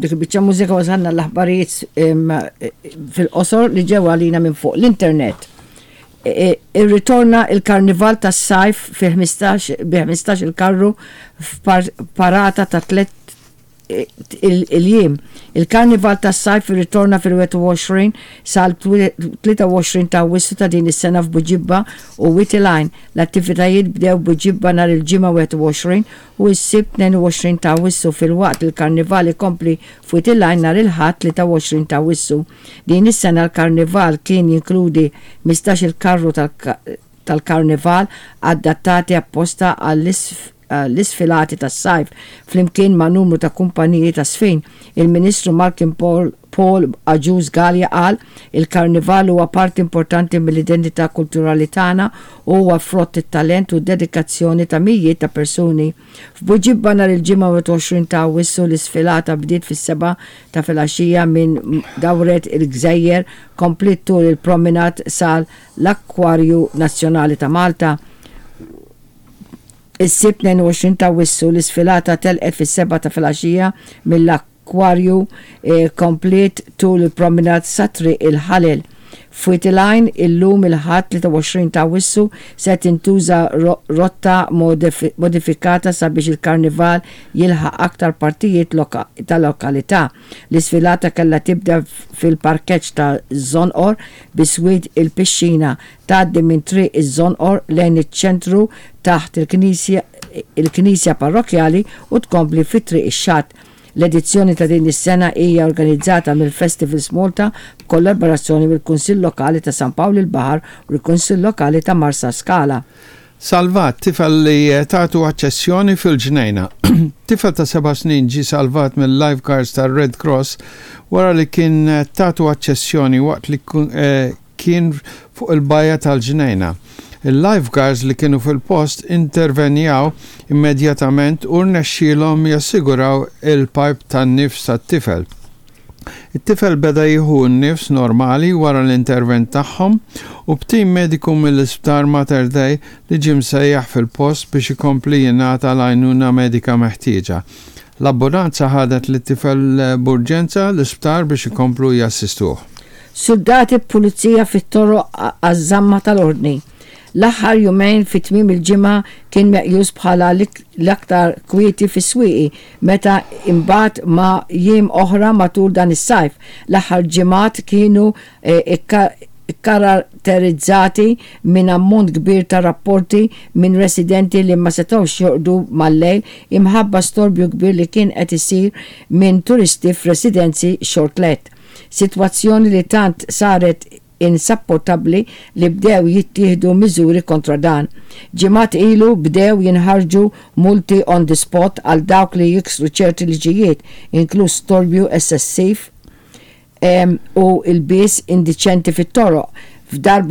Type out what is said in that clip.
Dik il-biċċa mużika wasalna l-aħbarijiet fil-qosor li ġew għalina minn fuq l-internet. Irritorna il-Karnival tas-Sajf fi 15 bi 15 il-karru f'parata ta' tlett il-jiem. Il-Karnival tas-Sajf irritorna fil-21 sal-23 ta' Awwissu ta' din is-sena f'Buġibba u Wied il-Għajn. L-attivitajiet bdew Buġibba nhar il-Ġimgħa 21 u s-Sibt 22 ta' Awwissu filwaqt li l-Karnival ikompli f'Wied il-Għajn nhar il-Ħadd 23 ta' Awwissu. Din is-sena l-Karnival kien jinkludi 15-il karru tal-Karnival adattati apposta għall-isfilati tas-sajf flimkien ma' numru ta' kumpaniji ta' żfin. Il-Ministru Malcolm Paul Agius Galea qal, Il-Karnival huwa parti importanti mill-identità kulturali tagħna u huwa frott it-talent u d-dedikazzjoni ta' mijiet ta' persuni. F'Buġibba nhar il-Ġimgħa 21 ta' Awwissu l-isfilata bdiet fis-sebgħa ta' filgħaxija minn Dawret il-Gżejjer kompliet tul il-promenade sal l-Akkwarju Nazzjonali ta' Malta. Is-Sibt 22 ta' Awwissu l-isfilata telqet fis-sebgħa ta' filgħaxija mill-Akkwarju kompliet tul il-promenade sa Triq il-Ħalel. F'Wied il-Għajn, illum il-Ħadd 23 ta' Awwissu se tintuża rotta modifikata sabiex il-Karnival jilħaq aktar partijiet tal-lokalità. L-isfilata kellha tibda fil-parkeġġ ta' Żonqor biswit il-pixxina, tgħaddi minn Triq iż-Żonqor lejn iċ-ċentru taħt il-Knisja Parrokkjali u tkompli fi Triq ix-Xatt. L-edizzjoni ta' din is-sena hija organizzata mill-Festivals Malta b'kollaborazzjoni mill-Kunsill Lokali ta' San Pawl il-Baħar u l-Kunsill Lokali ta' Marsaskala. Salvat tifel li tatu aċċessjoni fil-Ġnejna. Tifel ta' seba' snin ġie salvat mill-lifeguards tar-Red Cross wara li kien tatu aċċessjoni waqt li kien fuq il-bajja tal-Ġnejna. Il-lifeguards li kienu fil-post intervenjaw immedjatament u rnexxielhom jassiguraw il-pajp tan-nifs tat-tifel. It-tifel beda jieħu n-nifs normali wara l-intervent tagħhom u b'tim mediku mill-Isptar Mater Dei li ġie msejjaħ fil-post biex ikompli jingħata l-għajnuna medika meħtieġa. L-ambulanza ħadet lit-tifel b'urġenza l-isptar biex ikomplu jassistuh. Suldati b'pulizija fit-toroq għaż-żamma tal-ordni. L-aħħar jumejn fi tmiem il-ġimgħa kien meqjus bħala l-aktar kwieti fis-Swieqi meta imbagħad ma' jiem oħra matul dan is-sajf. L-aħħar ġimgħat kienu kkaratterizzati minn ammont kbir ta' rapporti minn residenti li ma setgħux jorqdu mal-lejl imħabba storbju kbir li kien qed isir minn turisti f'residenzi short-let. Sitwazzjoni li tant saret insapportabbli li bdew jittieħdu miżuri kontra dan. Ġimgħat ilu bdew jinħarġu multi on the spot għal dawk li jiksru ċerti liġijiet, inkluż storbju eċċessiv u lbies indiċenti fit-toroq. F'darba.